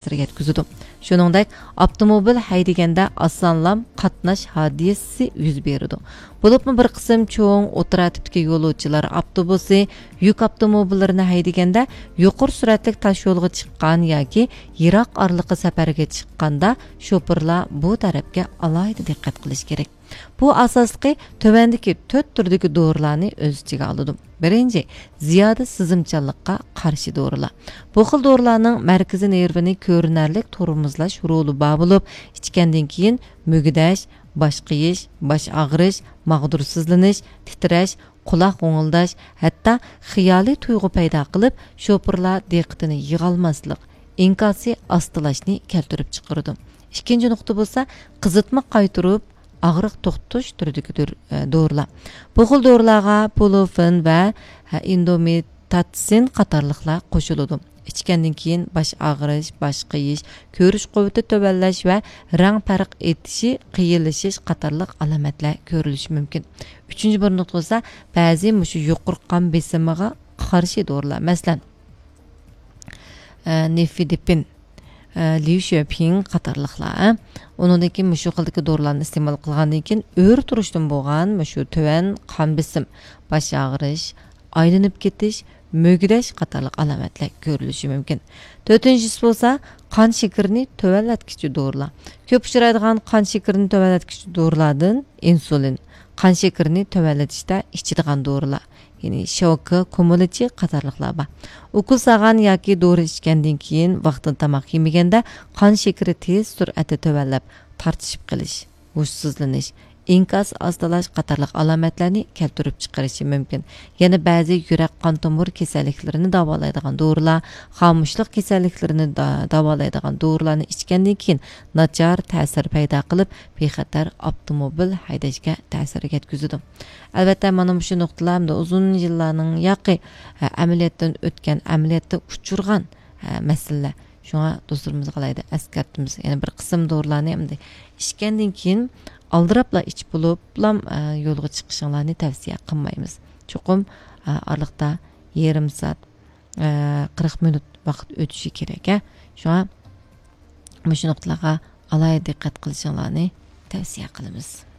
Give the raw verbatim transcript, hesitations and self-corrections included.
تەسىر يەتكۈزىدۇ. شۇنىڭدەك، ئاپتوموبىل ھەيدىگەندە ئاسانلام قاتناش ھادىسىسى يۈز بېرىدۇ. بولۇپمۇ بىر قىسىم چوڭ ئوتتۇرا تىپتىكى يولۇچىلار ئاپتوبۇسى، يۈك ئاپتوموبىللىرىنى ھەيدىگەندە، يۇقىرى سۈرئەتلىك تاش يولغا چىققان ياكى يىراق ئارىلىققا سەپەرگە چىققاندا، شوپۇرلار بۇ تەرەپكە ئالاھىدە دىققەت قىلىشى كېرەك. بۇ ئاساسلىقى تۆۋەندىكى تۆت تۈردىكى دورىلارنى ئۆز ئىچىگە ئالىدۇ. بىرىنچى، زىيادە سىزىمچانلىققا قارشى دورىلار. بۇ خىل دورىلارنىڭ مەركىزىي نېرۋىنى كۆرۈنەرلىك تورمۇزلاش رولى بار بولۇپ، ئىچكەندىن كېيىن مۈگدەش، باش قېيىش، باش ئاغرىش، ماغدۇرسىزلىنىش، تىترەش، قۇلاق غوڭۇلداش، ھەتتا خىيالىي تۇيغۇ پەيدا قىلىپ، شوپۇرلار دىققىتىنى يىغالماسلىق، ئىنكاسى ئاستىلاشنى كەلتۈرۈپ چىقىرىدۇ. ئىككىنچى نۇقتا بولسا، قىزىتما قايتۇرۇپ، ئاغرىق توختىتىش تۈرىدىكى دور-، ئە، دورىلار. بۇ خىل دورىلارغا پولۇفېن ۋە، ھە، ئىندومېتاتسىن قاتارلىقلار قوشۇلىدۇ. ئىچكەندىن كېيىن باش ئاغرىش، باش قېيىش، كۆرۈش قۇۋۋىتى تۆۋەنلەش ۋە رەڭ پەرق ئېتىشى، قىيىنلىشىش قاتارلىق ئالامەتلەر كۆرۈلۈشى مۇمكىن. ئۈچىنچى بىر نۇقتا بولسا، بەزى مۇشۇ يۇقىرى قان بېسىمىغا قارشى دورىلار، مەسىلەن، ئە، نىفىدىپىن، ئە، ليۇشۈەپىڭ قاتارلىقلار. ئۇنىڭدىن كېيىن مۇشۇ خىلدىكى دورىلارنى ئىستېمال قىلغاندىن كېيىن ئۆرە تۇرۇشتىن بولغان مۇشۇ تۆۋەن قان بېسىم، باش ئاغرىش، ئايلىنىپ كېتىش، مۈگدەش قاتارلىق ئالامەتلەر كۆرۈلۈشى مۇمكىن. تۆتىنچىسى بولسا، قان شېكىرىنى تۆۋەنلەتكۈچى دورىلار. كۆپ ئۇچرايدىغان قان شېكىرىنى تۆۋەنلەتكۈچى دورىلاردىن ئىنسۇلىن، قان شېكىرىنى تۆۋەنلىتىشتە ئىچىدىغان دورىلار، يەنى شوكا، كۇمۇلىچى قاتارلىقلار بار. ئوكۇل سالغان ياكى دورا ئىچكەندىن كېيىن ۋاقتىدا تاماق يېمىگەندە قان شېكىرى تېز سۈرئەتتە تۆۋەنلەپ، تارتىشىپ قېلىش، ھوشسىزلىنىش، ئىنكاس ئاستىلاش قاتارلىق ئالامەتلەرنى كەلتۈرۈپ چىقىرىشى مۇمكىن. يەنە بەزى يۈرەك قان تومۇر كېسەللىكلىرىنى داۋالايدىغان دورىلار، خامۇشلۇق كېسەللىكلىرىنى دا-، داۋالايدىغان دورىلارنى ئىچكەندىن كېيىن ناچار تەسىر پەيدا قىلىپ، بىخەتەر ئاپتوموبىل ھەيدەشكە تەسىر يەتكۈزىدۇ. ئەلۋەتتە، مانا مۇشۇ نۇقتىلار ئەمدى ئۇزۇن يىللارنىڭ ياقى، ئە، ئەمەلىيەتتىن ئۆتكەن، ئەمەلىيەتتە ئۇچرىغان، ئە، مەسىلىلەر. شۇڭا دوستلىرىمىزغا ئالاھىدە ئەسكەرتىمىز. يەنە بىر قىسىم دورىلارنى ئەمدى ئىچكەندىن كېيىن ئالدىراپلا ئىچىپ بولۇپلا، ئە، يولغا چىقىشىڭلارنى تەۋسىيە قىلمايمىز. چوقۇم، ئە، ئارىلىقتا يېرىم سائەت، ئە، قىرىق مىنۇت ۋاقىت ئۆتۈشى كېرەك، ھە. شۇڭا مۇشۇ نۇقتىلارغا ئالاھىدە دىققەت قىلىشىڭلارنى تەۋسىيە قىلىمىز.